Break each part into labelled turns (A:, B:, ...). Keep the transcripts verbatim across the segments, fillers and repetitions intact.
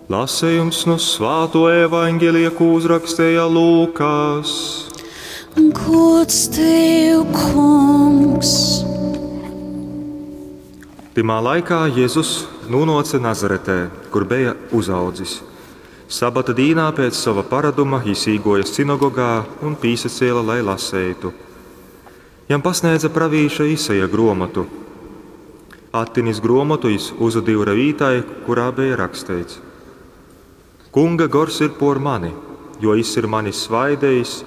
A: Lasejums nu Svātuo Evaņgelija, kū uzraksteja Lūkas.
B: Gods tev, Kungs!
A: Tymā laikā Jezus nūnōce Nazaretē, kur beja uzaudzis. Sabata dīnā pēc sova paraduma jis īgōja sinagogā un pīsacēle, lai laseitu. Jam pasnēdze pravīša Isaja grōmotu. Attinis grōmotu, jis uzadyure vītai, kurā beja raksteits: Kunga gors ir pōr mani, jo jis ir mani svaidejis,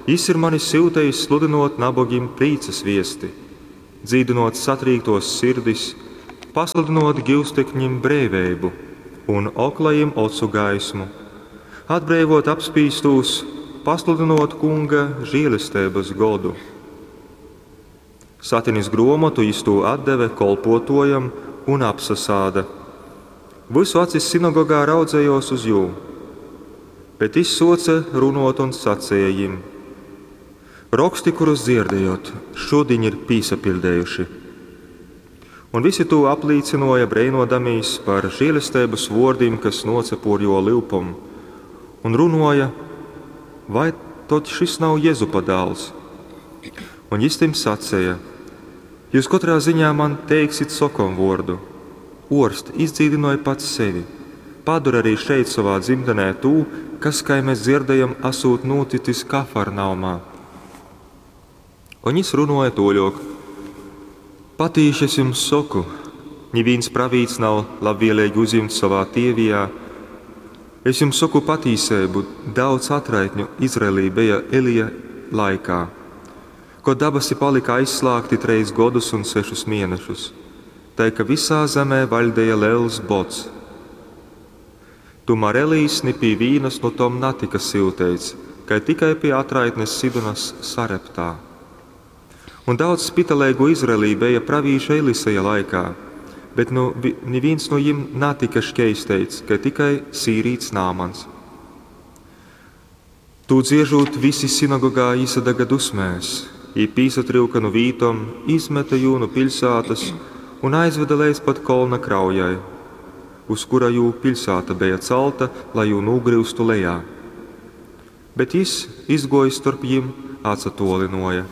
A: jis ir mani syutejis sludynōt nabogim prīcas viesti, dzīdynōt satrīktōs sirdis, pasludynōt gyustekņim breiveibu un oklajim ocu gaismu, atbreivōt apspīstūs, pasludynōt Kunga žielesteibas godu. Satinis grōmotu, jis tū atdeve kolpōtōjam un apsasāda. Vysu acis sinagogā raudzejōs uz jū. Bet jis sōce runōt un saceja jim: Roksti, kurus dzierdējot, šudiņ ir pīsapiļdejuši. Un visi tū aplīcynōja, breinōdamīs par žēlesteibas vōrdim, kas nōce pōr jō lyupom, un runōja: Vai tod šys nav Jezupa dāls? Un jis tim saceja: Jyus kotrā ziņā man teiksit sokomvōrdu: Ōrst, izdzīdynoj pats sevi. Padori arī šeit sovā dzimtenē tū, kas, kai mēs dzirdējam, asūt nūticis Kafarnaumā. Un jis runōja tōļōk: Patīši es jums soku, nivīns pravīts nav labvieleigi uzjimts sovā tievijā. Es jums soku patīseibu, daudz atraitņu Izraelī beja Elija laikā, kod dabasi palika aizslāgti trejs godus un sešus mēnešus, tai ka visā zemē vaļdeja lels bods. Tomēr Elijs ni pie vīnas no tom natika syuteits, kai tikai pie atraitnes Sidonas Sareptā. Un daudz spitaleigu Izraelī beja pravīša Eliseja laikā, bet nu, nivīns no jim natika škeisteits, kai tikai sīrīts Nāmans. Tū dziežūt, visi sinagogā īsadaga dusmēs, jī pīsatryuka nu vītom, izmeta jū nu piļsātas un aizveda leidz pat kolna kraujai, uz kura jū piļsāta beja calta, lai jū nūgryustu lejā. Bet jis, izgōjis storp jim, atsatōlynōja.